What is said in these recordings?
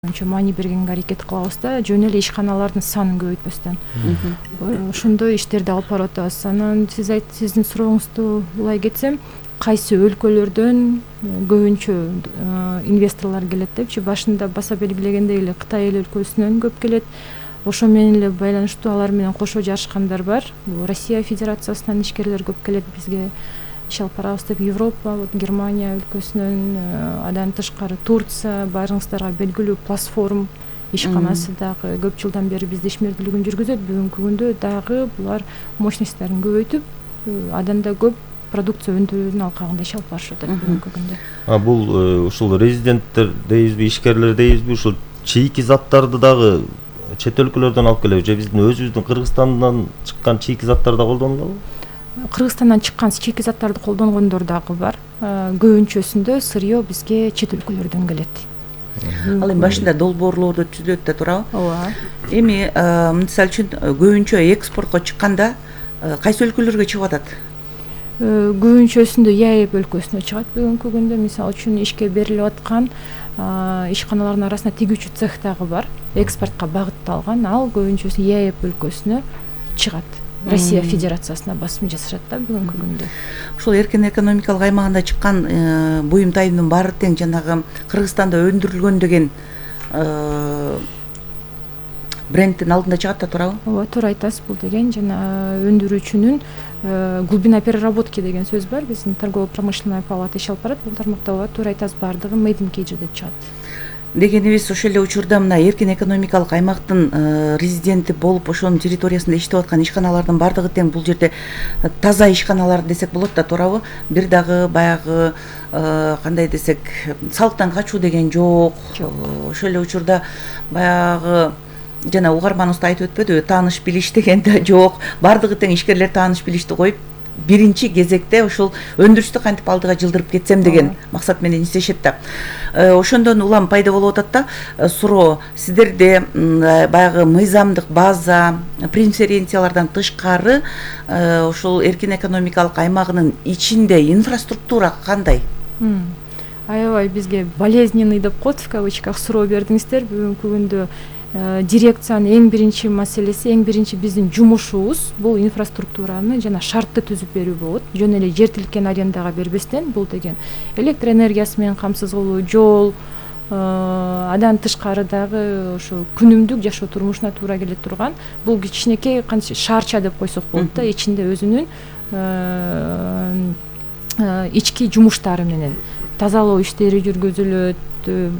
Маани бергенге аракет кылабыз да, жөн эле ишканалардын санын көбөйтпөстөн. Ошондой иштерди алып барып атабыз. Анан сиздин сурооңузду улай кетсем, кайсы өлкөлөрдөн көбүнчө инвесторлор келет депчи, башында баса белгилегендей эле Кытай эл өлкөсүнөн көп келет. Ошо менен эле байланыштуу алар менен кошо жарышкандар бар. Россия Федерациясынан ишкерлер көп келет бизге. Иш алып барабыз деп Европа, Германия өлкөсүнөн, андан тышкары Турция, баарыңыздарга белгилүү платформ ишканасы дагы көп жылдан бери бизде ишмердүүлүгүн жүргүзөт. Бүгүнкү күндө дагы булар мощностьтарын көбөйтүп, андан да көп продукция өндүрүүнүн алкагында иш алып барышып атат бүгүнкү күндө. Бул ушул резиденттер дейбизби, ишкерлер дейбизби, ушул чийки заттарды дагы чет өлкөлөрдөн алып келеби же биздин өзүбүздүн Кыргызстандан чыккан чийки заттарды да колдонулабы? Кыргызстандан чыккан чийки заттарды колдонгондор дагы бар. Көбүнчөсүндө сырье бизге чет өлкөлөрдөн келет. Ал эми башында долбоорлорду түзүлөт да турабы? Ооба. Эми мисалы үчүн көбүнчө экспортко чыкканда кайсы өлкөлөргө чыгып атат? Көбүнчөсүндө ЯЭП өлкөсүнө чыгат бүгүнкү күндө. Мисалы үчүн ишке берилип аткан ишканалардын арасында тигүүчү цех дагы бар. Экспортко багытталган, ал көбүнчөсү ЯЭП өлкөсүнө чыгат. Россия Федерациясына басым жасашат да бүгүнкү күндө. Ушул эркин экономикалык аймагында чыккан буюм тайымдын баары тең жанагы Кыргызстанда өндүрүлгөн деген брендтин алдында чыгат да турабы? Ооба, туура айтасыз. Бул деген жана өндүрүүчүнүн глубина переработки деген сөз бар. Биздин торгово-промышленная палата иш алып барат. Бул тармакта ооба, туура айтасыз, баардыгы Made in KG деп чыгат. Дегенибиз ошол эле учурда мына эркин экономикалык аймактын резиденти болуп ошонун территориясында иштеп аткан ишканалардын баардыгы тең бул жерде таза ишканалар десек болот да туурабы? Бир дагы баягы кандай десек, салыктан качуу деген жок. Ошол эле учурда баягы жана угарманыбыз да айтып өтпөдүбү, тааныш билиш деген да жок. Баардыгы тең ишкерлер тааныш билишти коюп, биринчи кезекте ушул өндүрүштү кантип алдыга жылдырып кетсем деген максат менен иштешет да. Ошондон улам пайда болуп атат да суроо. Сиздерде баягы мыйзамдык база, преференциялардан тышкары ушул эркин экономикалык аймагынын ичинде инфраструктура кандай? Аябай бизге болезненный деп коет в кавычках суроо бердиңиздер. Бүгүнкү күндө дирекциянын эң биринчи маселеси, эң биринчи биздин жумушубуз бул инфраструктураны жана шартты түзүп берүү болот. Жөн эле жер тилкен арендага бербестен, бул деген электр энергиясы менен камсыз кылуу, жол, андан тышкары дагы ошо күнүмдүк жашоо турмушуна туура келе турган бул кичинекей кантип шаарча деп койсок болот да, ичинде өзүнүн ички жумуштары менен тазалоо иштери жүргүзүлөт.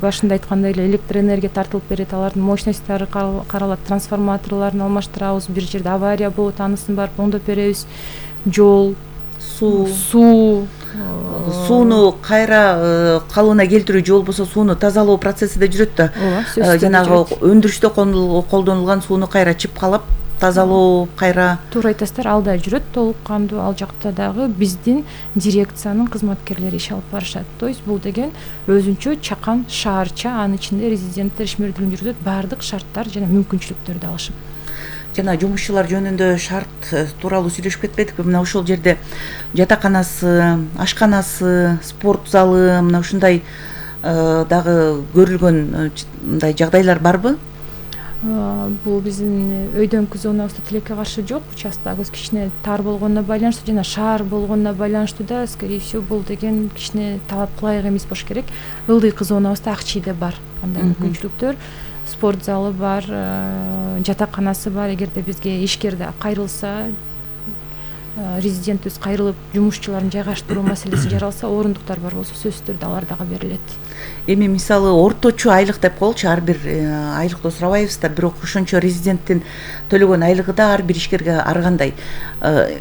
Башында айткандай эле электр энергия тартылып берет, алардын мощностьтары каралат, трансформаторлорун алмаштырабыз, бир жерде авария болот, анысын барып оңдоп беребиз. Жол, сууну кайра калыбына келтирүү, же болбосо сууну тазалоо процесси да жүрөт да. Ооба, жанагы өндүрүштө колдонулган сууну кайра чыпкалап тазалоо кайра. Туура айтасыздар, ал да жүрөт толук кандуу. Ал жакта дагы биздин дирекциянын кызматкерлери иш алып барышат. То есть бул деген өзүнчө чакан шаарча, анын ичинде резиденттер ишмердүүлүгүн жүргүзөт, баардык шарттар жана мүмкүнчүлүктөрдү алышып. Жана жумушчулар жөнүндө шарт тууралуу сүйлөшүп кетпедикпи? Мына ошол жерде жатаканасы, ашканасы, спорт залы, мына ушундай дагы көрүлгөн мындай жагдайлар барбы? Бул биздин өйдөңкү зонабызда тилекке каршы жок. Участогубуз кичине тар болгонуна байланыштуу жана шаар болгонуна байланыштуу да, скорее всего, бул деген кичине талапка ылайык эмес болуш керек. Ылдыйкы зонабызда ак чийде бар андай мүмкүнчүлүктөр. Спорт залы бар, жатаканасы бар. Эгерде бизге ишкер кайрылса, резидентибиз кайрылып, жумушчулардын жайгаштыруу маселеси жаралса, орундуктар бар болсо сөзсүз түрдө алар дагы берилет. Эми мисалы орточо айлык деп коелучу, ар бир айлыкты сурабайбыз да, бирок ошончо резиденттин төлөгөн айлыгы да ар бир ишкерге ар кандай,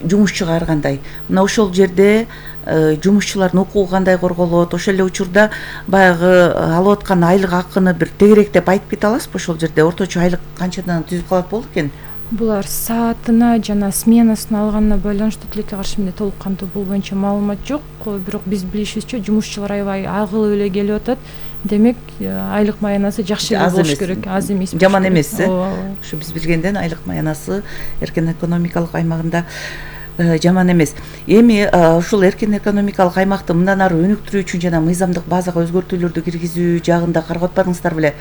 жумушчуга ар кандай. Мына ошол жерде жумушчулардын укугу кандай корголот? Ошол эле учурда баягы алып аткан айлык акыны бир тегеректеп айтып кете аласызбы? Ошол жерде орточо айлык канчадан түзүп калат болот экен? Булар саатына жана сменасына алганына байланыштуу, тилекке каршы менде толук кандуу бул боюнча маалымат жок. Бирок биз билишибизче жумушчулар аябай агылып эле келип атат. Демек, айлык маянасы жакшы болуш керек, аз эмес. Жаман эмес, Ушу биз билгенден айлык маянасы эркин экономикалык аймагында жаман эмес. Эми ушул эркин экономикалык аймакты мындан ары өнүктүрүү үчүн жана мыйзамдык базага өзгөртүүлөрдү киргизүү жагында карап атпадыңыздар беле?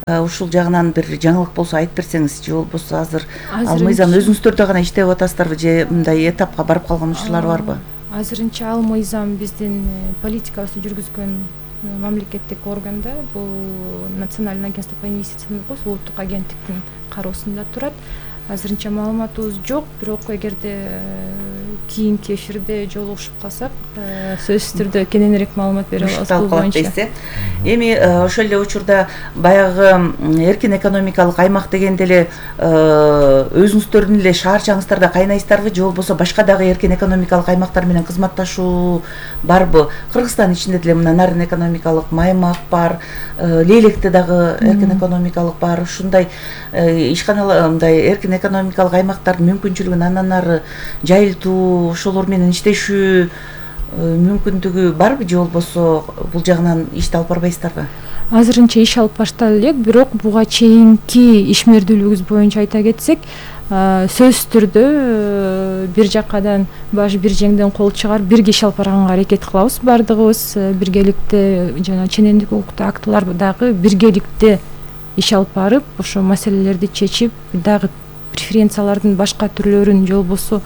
ушул жагынан бир жаңылык болсо айтып берсеңиз, же болбосо азыр ал мыйзам өзүңүздөрдө гана иштеп атасыздарбы, же мындай этапка барып калган учурлар барбы? Азырынча ал мыйзам биздин политикабызды жүргүзгөн мамлекеттик органда, бул Национальное агентство по инвестициям дейт, улуттук агенттиктин кароосунда турат. Азырынча маалыматыбыз жок, бирок эгерде кийинки эфирде жолугушуп калсак, сөзсүз түрдө кененирээк маалымат бере алабыз бул боюнча. Эми ошол эле учурда баягы эркин экономикалык аймак дегенде эле өзүңүздөрдүн эле шаарчаңыздарда кайнайсыздарбы, же болбосо башка дагы эркин экономикалык аймактар менен кызматташуу барбы? Кыргызстан ичинде деле мына Нарын экономикалык аймак бар, Лейлекте дагы эркин экономикалык бар. Ушундай ишканалар, мындай эркин экономикалык аймактардын мүмкүнчүлүгүн андан ары жайылтуу, ошолор менен иштешүү мүмкүндүгү барбы, же болбосо бул жагынан ишти алып барбайсыздарбы? Азырынча иш алып башталып элек, бирок буга чейинки ишмердүүлүгүбүз боюнча айта кетсек, сөзсүз түрдө бир жакадан баш бир жеңден кол чыгарып бирге иш алып барганга аракет кылабыз. Бардыгыбыз биргеликте жана ченемдик укуктуу актылар дагы биргеликте иш алып барып, ошо маселелерди чечип, дагы преференциялардын башка түрлөрүн, же болбосо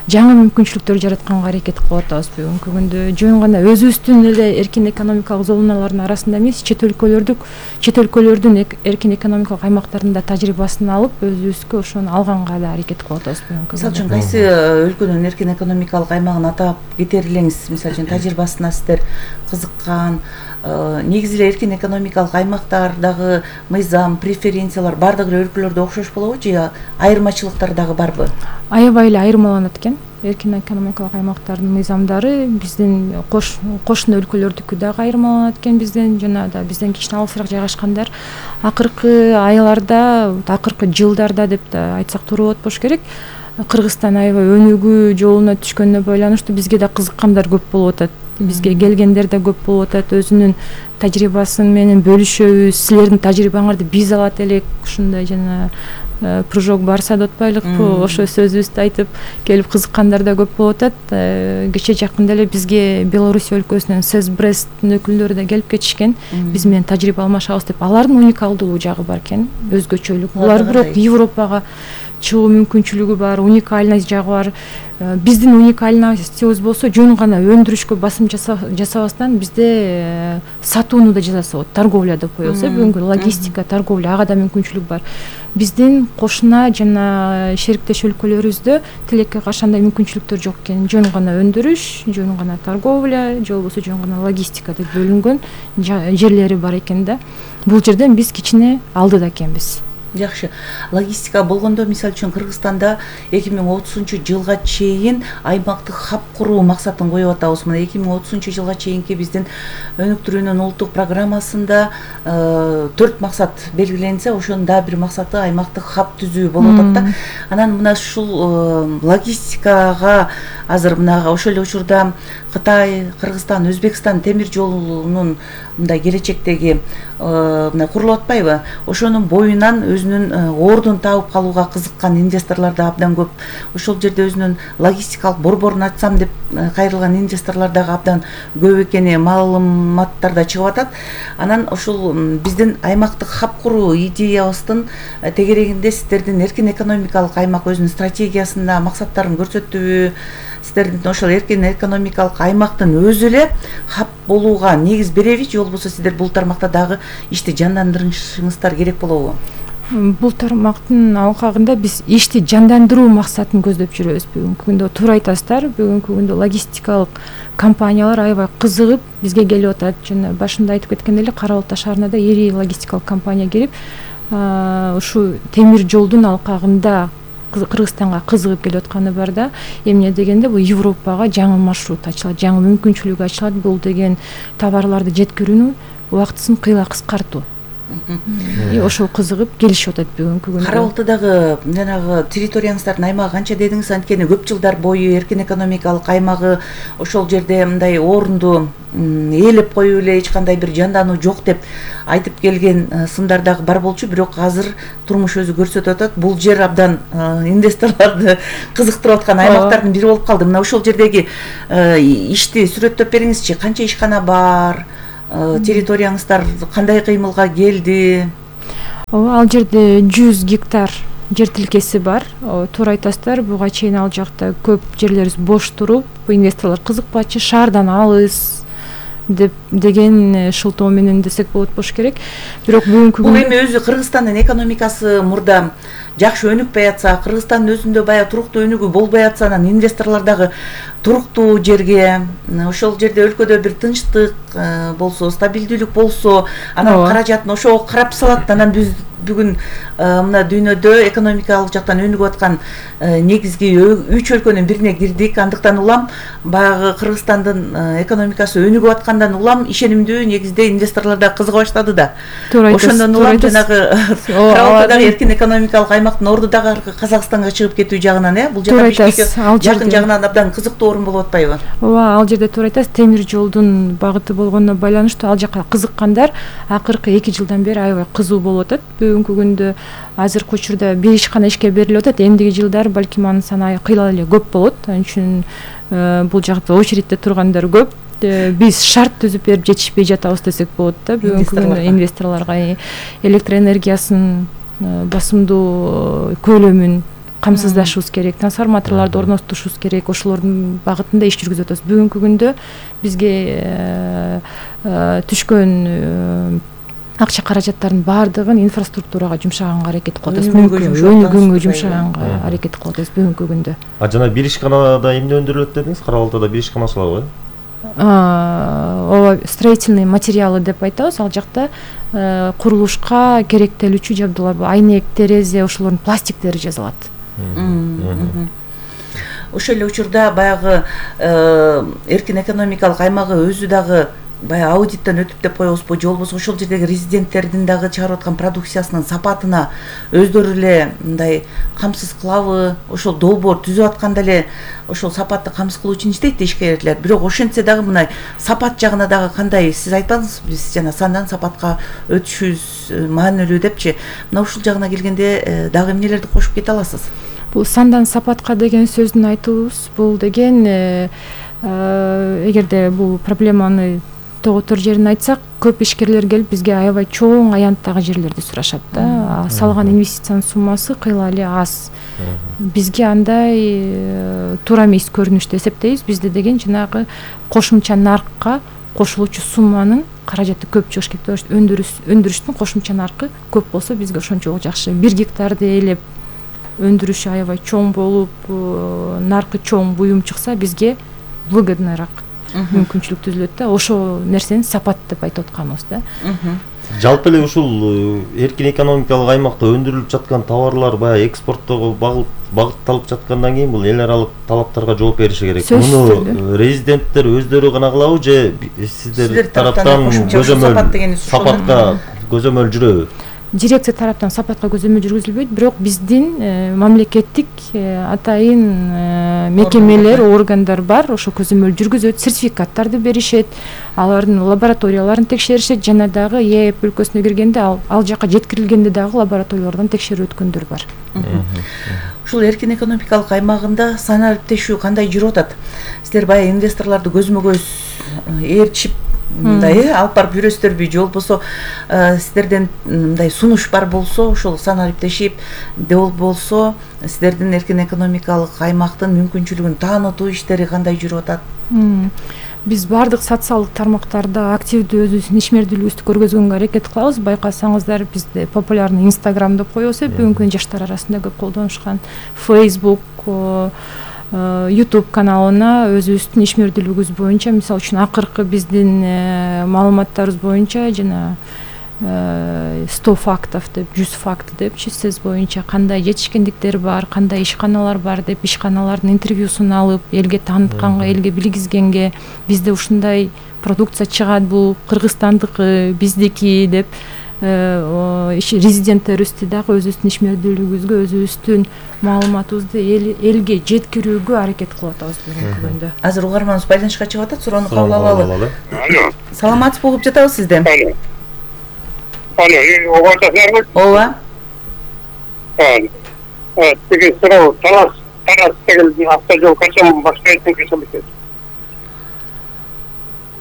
жаңы мүмкүнчүлүктөр жаратканга аракет кылып атабыз. Бүгүнкү күндө жөн гана өзүбүздүн эле эркин экономикалык зоналардын арасында эмес, чет өлкөлөрдүн эркин экономикалык аймактарында тажрыйбасын алып, өзүбүзгө ошону алганга да аракет кылып атабыз. Мисалы үчүн кайсы өлкөнүн эркин экономикалык аймагын атап кетер элеңиз? Мисалы үчүн тажрыйбасына сиздер кызыккан, негизи эле эркин экономикалык аймактардагы мыйзам, преференциялар бардык эле өлкөлөрдө окшош болобу, же айырмачылыктар дагы барбы? Аябай эле айырмаланат экен. Эркин экономикалык аймактардын мыйзамдары биздин кошуна өлкөлөрдүкү дагы айырмаланат экен. Жана да бизден кичине алысыраак жайгашкандар акыркы айларда, акыркы жылдарда деп да айтсак туура болот болуш керек, Кыргызстан аябай өнүгүү жолуна түшкөнүнө байланыштуу бизге да кызыккандар көп болуп атат. Бизге келгендер да көп болуп атат, өзүнүн тажрыйбасын менен бөлүшөбүз. Силердин тажрыйбаңарды биз алат элек, ушундай жана пружок барса да отпайлыкпы, ошо сөзүбүздү айтып келип кызыккандар да көп болуп атат. Кече жакында эле бизге Белоруссия өлкөсүнөн СЭС Бресттин өкүлдөрү да келип кетишкен. Биз менен тажрыйба алмашабыз деп. Алардын уникалдуулугу жагы бар экен, өзгөчөлүк. Булар бирок Европага чыгуу мүмкүнчүлүгү бар, уникальность жагы бар. Биздин уникальностьубуз болсо жөн гана өндүрүшкө басым жасабастан бизде сатууну да жасаса болот, торговля деп коебуз. Бүгүнкү логистика, торговля, ага да мүмкүнчүлүк бар. Биздин кошуна жана шериктеш өлкөлөрүбүздө тилекке каршы андай мүмкүнчүлүктөр жок экен. Жөн гана өндүрүш, жөн гана торговля, же болбосо жөн гана логистика деп бөлүнгөн жерлери бар экен да. Бул жерден биз кичине алдыда экенбиз. Жакшы. Логистика болгондо, мисалы үчүн Кыргызстанда 2030-жылга чейин аймактык хаб куруу максатын коюп атабыз. Мына 2030-жылга чейинки биздин өнүктүрүүнүн улуттук программасында 4 максат белгиленсе, ошонун да бир максаты аймактык хаб түзүү болуп атат да. Анан мына ушул логистикага азыр мына ошол эле учурда Кытай, Кыргызстан, Өзбекстан темир жолунун мындай келечектеги мына курулуп атпайбы? Ошонун боюнан өзүнүн ордун таап калууга кызыккан инвесторлор да абдан көп. Ошол жерде өзүнүн логистикалык борборун ачсам деп кайрылган инвесторлор дагы абдан көп экени маалыматтарда чыгып атат. Анан ушул биздин аймактык хаб куруу идеябыздын тегерегинде сиздердин эркин экономикалык аймак өзүнүн стратегиясында максаттарын көрсөттүбү? Сиздердин ошол эркин экономикалык аймактын өзү эле хаб болууга негиз береби, же болбосо сиздер бул тармакта дагы ишти жандандырышыңыздар керек болобу? Бул тармактын алкагында биз ишти жандандыруу максатын көздөп жүрөбүз. Бүгүнкү күндө туура айтасыздар. Бүгүнкү күндө логистикалык компаниялар аябай кызыгып бизге келип атат. Жана башында айтып кеткендей эле Кара Балта шаарына да ири логистикалык компания келип, ушу темир жолдун алкагында Кыргызстанга кызыгып келип атканы бар да. Эмне дегенде бул Европага жаңы маршрут ачылат, жаңы мүмкүнчүлүк ачылат. Бул деген товарларды жеткирүүнүн убактысын кыйла кыскартуу. Ошол кызыгып келишип атат бүгүнкү күндө. Кара Балтадагы жанагы территорияңыздардын аймагы канча дедиңиз? Анткени көп жылдар бою эркин экономикалык аймагы ошол жерде мындай орунду ээлеп коюп эле эч кандай бир жандануу жок деп айтып келген сындар дагы бар болчу, бирок азыр турмуш өзү көрсөтүп атат. Бул жер абдан инвесторлорду кызыктырып аткан аймактардын бири болуп калды. Мына ошол жердеги ишти сүрөттөп бериңизчи. Канча ишкана бар? Территорияңыздар кандай кыймылга келди? Ооба, ал жерде 100 гектар жер тилкеси бар. Туура айтасыздар, буга чейин ал жакта көп жерлерибиз бош туруп, инвесторлор кызыкпачы, шаардан алыс деген шылтоо менен десек болот болуш керек. Бирок бүгүнкү бул эми өзү Кыргызстандын экономикасы мурда жакшы өнүкпөй атса, Кыргызстандын өзүндө баягы туруктуу өнүгүү болбой атса, анан инвесторлор дагы туруктуу жерге, ошол жерде өлкөдө бир тынчтык болсо, стабилдүүлүк болсо, анан каражатын ошого карап салат. Анан биз бүгүн мына дүйнөдө экономикалык жактан өнүгүп аткан негизги 3 өлкөнүн бирине кирдик. Андыктан улам баягы Кыргызстандын экономикасы өнүгүп аткандан улам ишенимдүү негизде инвесторлор да кызыга баштады да. Ошондон улам жанагы карабалдагы эркин экономикалык аймактын орду дагы Казакстанга чыгып кетүү жагынан, бул жакка жакын жагынан абдан кызыктуу орун болуп атпайбы? Ооба, ал жерде туура айтасыз, темир жолдун багыты болгонуна байланыштуу ал жакка кызыккандар акыркы 2 жылдан бери аябай кызуу болуп атат. Бүгүнкү күндө азыркы учурда 1 ишкана ишке берилип атат. Эмдиги жылдар балким анын саны кыйла эле көп болот. Ал үчүн бул жакта очередьте тургандар көп. Биз шарт түзүп берип жетишпей жатабыз десек болот да. Бүгүнкү күндө инвесторлорго электр энергиясынын басымдуу көлөмүн камсыздашыбыз керек, трансформаторлорду орнотушубуз керек, ошолордун багытында иш жүргүзүп атабыз. Бүгүнкү күндө бизге түшкөн акча каражаттардын баардыгын инфраструктурага жумшаганга аракет кылып атабыз. Өнүгүүгө жумшаганга аракет кылып атабыз бүгүнкү күндө. Жана 1 ишканада эмне өндүрүлөт дедиңиз? Карабалдада 1 ишканасы бар го? Ооба, строительный материалы деп айтабыз. Ал жакта курулушка керектелүүчү жабдуулар бар. Айнек, терезе, ошолордун пластиктери жасалат. Ошол эле учурда баягы эркин экономикалык аймагы өзү дагы баягы аудиттен өтүп деп коебузбу, же болбосо ошол жердеги резиденттердин дагы чыгарып аткан продукциясынын сапатына өздөрү эле мындай камсыз кылабы, ошол долбоор түзүп атканда эле ошол сапатты камсыз кылуу үчүн иштейт ишкерлер. Бирок ошентсе дагы мына сапат жагына дагы кандай, сиз айтпадыңызбы, биз жана сандан сапатка өтүшүбүз маанилүү депчи. Мына ушул жагына келгенде дагы эмнелерди кошуп кете аласыз? Бул сандан сапатка деген сөздүн айтуубуз, бул деген эгерде бул проблеманы тоготор жерин айтсак, көп ишкерлер келип бизге аябай чоң аянттагы жерлерди сурашат да. Салган инвестициянын суммасы кыйла эле аз. Бизге андай туура эмес көрүнүштү эсептейбиз. Бизде деген жанагы кошумча наркка кошулуучу сумманын каражаты көп чыгыш керек. Өндүрүштүн кошумча наркы көп болсо бизге ошончолук жакшы. 1 гектарды ээлеп өндүрүшү аябай чоң болуп, наркы чоң буюм чыкса бизге выгодныйраак мүмкүнчүлүк түзүлөт да. Ошол нерсени сапат деп айтып атканыбыз да. Жалпы эле ушул эркин экономикалык аймакта өндүрүлүп жаткан товарлар баягы экспорттоого багытталып жаткандан кийин бул эл аралык талаптарга жооп бериши керек. Муну резиденттер өздөрү гана кылабы же сиздер тараптан көзөмөл сапатка көзөмөл жүрөбү? Дирекция тараптан сапатка көзөмөл жүргүзүлбөйт, бирок биздин мамлекеттик атайын мекемелер, органдар бар, ошо көзөмөл жүргүзөт, сертификаттарды беришет, алардын лабораторияларын текшеришет, жана дагы ЕЭП өлкөсүнө киргенде ал жака жеткирилгенде дагы лабораториялардан текшерүү өткөндөр бар. Ушул эркин экономикалык аймагында сан алиптешүү кандай жүрүп атат? Сиздер баягы инвесторлорду көзмө көз ээрчип мындай алып барып жүрөсүздөрбү, же болбосо сиздерден мындай сунуш бар болсо, ошол сан алиптешип болсо сиздердин эркин экономикалык аймактын мүмкүнчүлүгүн таанытуу иштери кандай жүрүп атат? Биз бардык социалдык тармактарда активдүү өзүбүздүн ишмердүүлүгүбүздү көргөзгөнгө аракет кылабыз. Байкасаңыздар, бизде популярный Instagram деп коебуз, бүгүнкү жаштар арасында көп колдонушкан, Facebook, YouTube каналына өзүбүздүн ишмердүүлүгүбүз боюнча, мисалы үчүн акыркы биздин маалыматтарыбыз боюнча жана 100 фактов деп, 100 факт депчи, сиз боюнча кандай жетишкендиктер бар, кандай ишканалар бар деп, ишканалардын интервьюсун алып, элге таанытканга, элге билгизгенге, бизде ушундай продукция чыгат, бул кыргызстандыкы, биздики деп резиденттерибизди дагы өзүбүздүн ишмердүүлүгүбүзгө, өзүбүздүн маалыматыбызды элге жеткирүүгө аракет кылып атабыз бүгүнкү күндө. Азыр угарманыбыз байланышка чыгып атат, суроону кабыл алалы. Саламатсызбы, угуп жатабыз сизди. Алло, угатасызбы? Ооба. Тиги суроо, Талас деген автожол качан баштайт десем.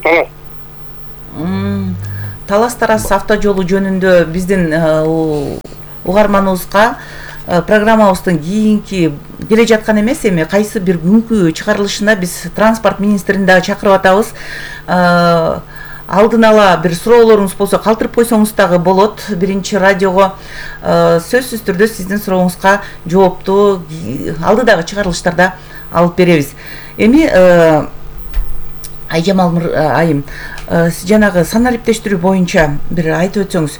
Талас. Талас-Тарас авто жолу жөнүндө биздин угарманыбызга программабыздын кийинки келе жаткан эмес, эми кайсы бир күнкү чыгарылышына биз транспорт министрин дагы чакырып атабыз. Алдын ала бир суроолоруңуз болсо калтырып койсоңуз дагы болот. Биринчи радиого сөзсүз түрдө сиздин сурооңузга жоопту алдыдагы чыгарылыштарда алып беребиз. Эми Айжамал айым, жанагы санариптештирүү боюнча бир айтып өтсөңүз,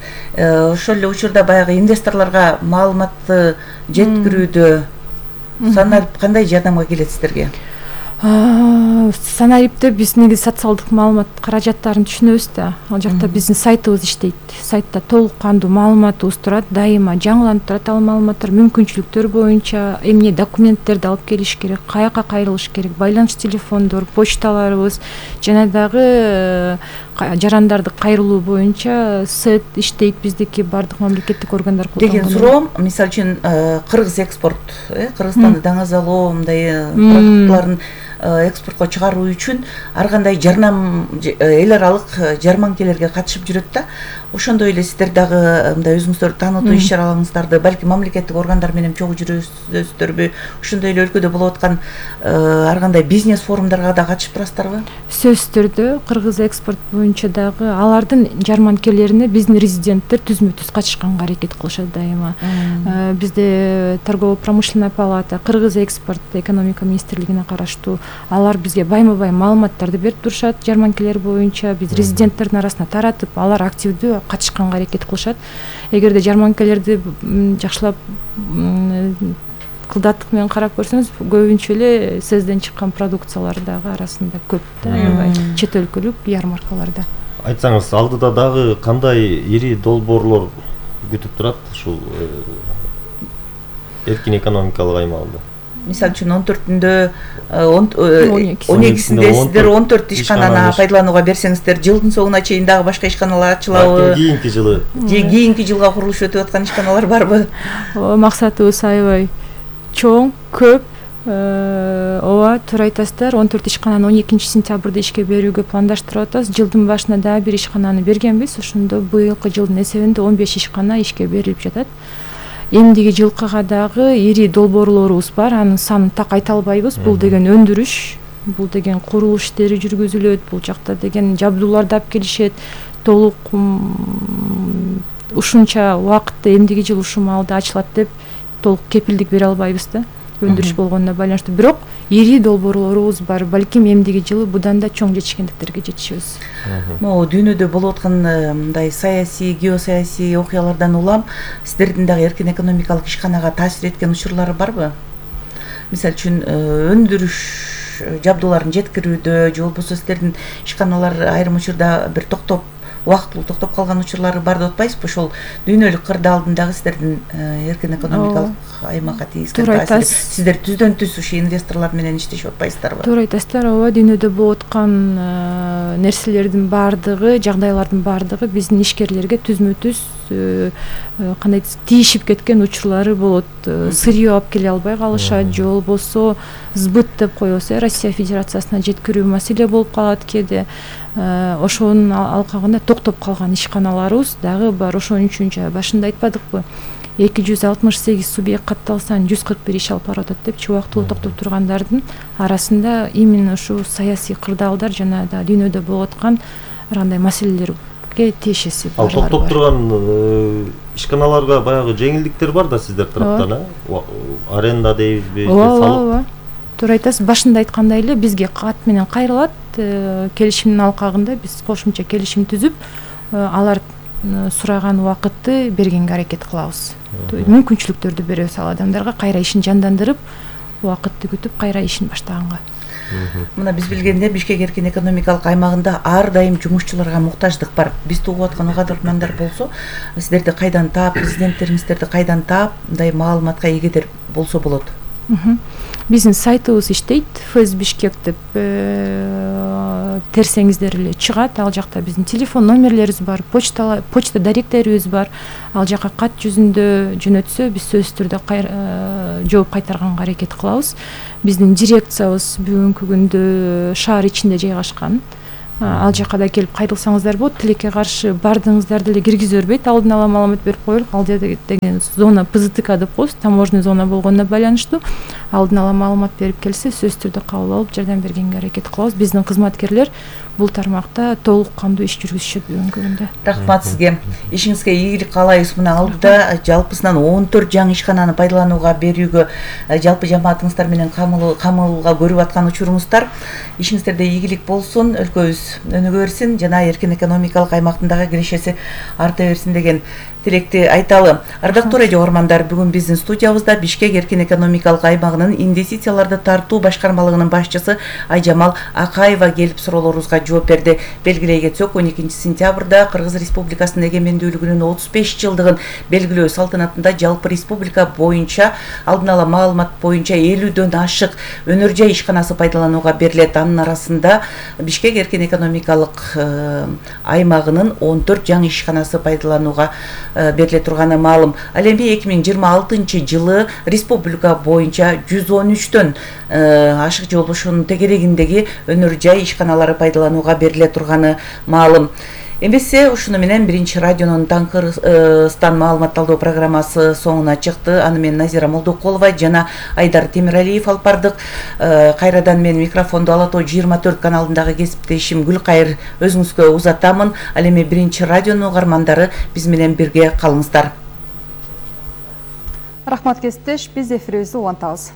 ошол эле учурда баягы инвесторлорго маалыматты жеткирүүдө санарип кандай жардамга келет сиздерге? Санарипте биз негизи социалдык маалымат каражаттарын түшүнөбүз да. Ал жакта биздин сайтыбыз иштейт. Сайтта толук кандуу маалыматыбыз турат, дайыма жаңыланып турат ал маалыматтар, мүмкүнчүлүктөр боюнча эмне документтерди алып келиш керек, каяка кайрылыш керек, байланыш телефондор, почталарыбыз жана дагы жарандарды кайрылуу боюнча сет иштейт биздики бардык мамлекеттик органдар колдонгон. Деген суроом, мисалы үчүн Кыргыз экспорт, Кыргызстанды даңазалоо, мындай продуктларын экспортко чыгаруу үчүн ар кандай жарнам эл аралык жарманкелерге катышып жүрөт да. Ошондой эле сиздер дагы мындай өзүңүздөрдү таанытуу иш чараларыңыздарды балки мамлекеттик органдар менен чогуу жүрөсүздөр, ошондой эле өлкөдө болуп аткан ар кандай бизнес форумдарга да катышып турасыздарбы? Сөзсүз түрдө Кыргыз экспорт боюнча дагы алардын жарманкелерине биздин резиденттер түзмө-түз катышканга аракет кылышат дайыма. Бизде торгово-промышленная палата, Кыргыз экспорт экономика министрлигине караштуу алар бизге байма-бай маалыматтарды берип турушат жарманкелер боюнча. Биз резиденттердин арасына таратып, алар активдүү катышканга аракет кылышат. Эгерде жарманкелерди жакшылап кылдаттык менен карап көрсөңүз, көбүнчө эле СЭЗден чыккан продукциялар дагы арасында көп да, аябай чет өлкөлүк ярмаркаларда. Айтсаңыз, алдыда дагы кандай ири долбоорлор күтүп турат ушул эркин экономикалык аймагында? Мисалы үчүн 14-үндө 12-синде сиздер 14 ишкананы пайдаланууга берсеңиздер, жылдын соңуна чейин дагы башка ишканалар ачылабы? Кийинки жылы. Кийинки жылга курулуш өтүп аткан ишканалар барбы? Максатыбыз аябай чоң, көп. Ооба, туура айтасыздар. 14 ишкананы 12-сентябрда ишке берүүгө пландаштырып атабыз. Жылдын башында дагы бир ишкананы бергенбиз. Ошондо быйылкы жылдын эсебинде 15 ишкана ишке берилип жатат. Эмдиги жылкыга дагы ири долбоорлорубуз бар. Анын санын так айта албайбыз. Бул деген өндүрүш, бул деген курулуш иштери жүргүзүлөт, бул жакта деген жабдууларды алып келишет. Толук ушунча убакытта эмдиги жыл ушул маалда ачылат деп толук кепилдик бере албайбыз да. Өндүрүш болгонуна байланыштуу. Бирок ири долбоорлорубуз бар. Балким эмдиги жылы будан да чоң жетишкендиктерге жетишебиз. Могу дүйнөдө болуп аткан мындай саясий, геосаясий окуялардан улам сиздердин дагы эркин экономикалык ишканага таасир эткен учурлары барбы? Мисалы үчүн өндүрүш жабдууларын жеткирүүдө же болбосо сиздердин ишканалар айрым учурда бир убактылуу токтоп калган учурлары бар деп атпайсызбы? Ошол дүйнөлүк кырда алдындагы сиздердин эркин экономикалык аймакка тийгизген таасир. Сиздер түздөн түз ушул инвесторлор менен иштешип атпайсыздарбы? Туура айтасыздар. Ооба, дүйнөдө болуп аткан нерселердин баардыгы, жагдайлардын баардыгы биздин ишкерлерге түзмө-түз кандай тийишип кеткен учурлары болот. Сырье алып келе албай калышат, же болбосо сбыт деп коебуз, Россия Федерациясына жеткирүү маселе болуп калат кээде. Ошонун алкагында токтоп калган ишканаларыбыз дагы бар. Ошон үчүн башында айтпадыкпы? 268 субъект катталса 141 иш алып барып атат депчи, убактылуу токтоп тургандардын арасында именно ушу саясий кырдаалдар жана да дүйнөдө болуп аткан ар кандай маселелерге тиешеси бар. Ал токтоп турган ишканаларга баягы жеңилдиктер бар да сиздер тараптан, аренда дейбизби? Ооба. Туура айтасыз. Башында айткандай эле бизге кат менен кайрылат. Келишимдин алкагында биз кошумча келишим түзүп, алар сураган убакытты бергенге аракет кылабыз. Мүмкүнчүлүктөрдү беребиз ал адамдарга, кайра ишин жандандырып, убакытты күтүп, кайра ишин баштаганга. Мына биз билгендей Бишкек эркин экономикалык аймагында ар дайым жумушчуларга муктаждык бар. Биз угуп аткан угармандар болсо, сиздерди кайдан таап, президенттериңиздерди кайдан таап, мындай маалыматка эгедер болсо болот? Биздин сайтыбыз иштейт, ФС Бишкек деп терсеңиздер эле чыгат. Ал жакта биздин телефон номерлерибиз бар, почта даректерибиз бар. Ал жака кат жүзүндө жөнөтсө, биз сөзсүз түрдө жооп кайтарганга аракет кылабыз. Биздин дирекциябыз бүгүнкү күндө шаар ичинде жайгашкан. ал жака да келип кайрылсаңыздар болот. Тилекке каршы бардыгыңыздарды эле киргизе бербейт, алдын ала маалымат берип коелук. Ал жерде деген зона ПЗТК деп коебуз, таможенный зона болгонуна байланыштуу. Алдын ала маалымат берип келсе, сөзсүз түрдө кабыл алып жардам бергенге аракет кылабыз. Биздин кызматкерлер бул тармакта толук кандуу иш жүргүзүшөт бүгүнкү күндө. Рахмат сизге. Ишиңизге ийгилик каалайбыз. Мына алдыда жалпысынан 14 жаңы ишкананы пайдаланууга берүүгө жалпы жамаатыңыздар менен камылга көрүп аткан учуруңуздар. Ишиңиздерде ийгилик болсун, өлкөбүз өнүгө берсин жана эркин экономикалык аймактын дагы кирешеси арта берсин деген тилекти айталы. Ардактуу радио угармандар, бүгүн биздин студиябызда Бишкек эркин экономикалык аймагынын инвестицияларды тартуу башкармалыгынын башчысы Айжамал Акаева келип суроолорубузга жооп берди. Белгилей кетсек, 12 сентябрда Кыргыз Республикасынын эгемендүүлүгүнүн 35 жылдыгын белгилөө салтанатында жалпы республика боюнча алдын ала маалымат боюнча 50дөн ашык өнөр жай ишканасы пайдаланууга берилет. Анын арасында Бишкек эркин экономикалык аймагынын 14 жаңы ишканасы пайдаланууга бериле турганы маалым. Ал эми 2026 жылы республика боюнча 113дөн ашык жолушунун тегерегиндеги өнөр жай ишканалары пайдаланууга бериле турганы маалым. Эмесе ушуну менен биринчи радионун Таңкырстан маалыматталдоо программасы соңуна чыкты. Аны мен Назира Молдокулова жана Айдар Темиралиев алып бардык. Кайрадан мен микрофонду Ала Тоо 24 каналындагы кесиптешим Гүлкайыр өзүңүзгө узатамын. Ал эми биринчи радионун угармандары биз менен бирге калыңыздар. Рахмат кесиптеш, биз эфирибизди улантабыз.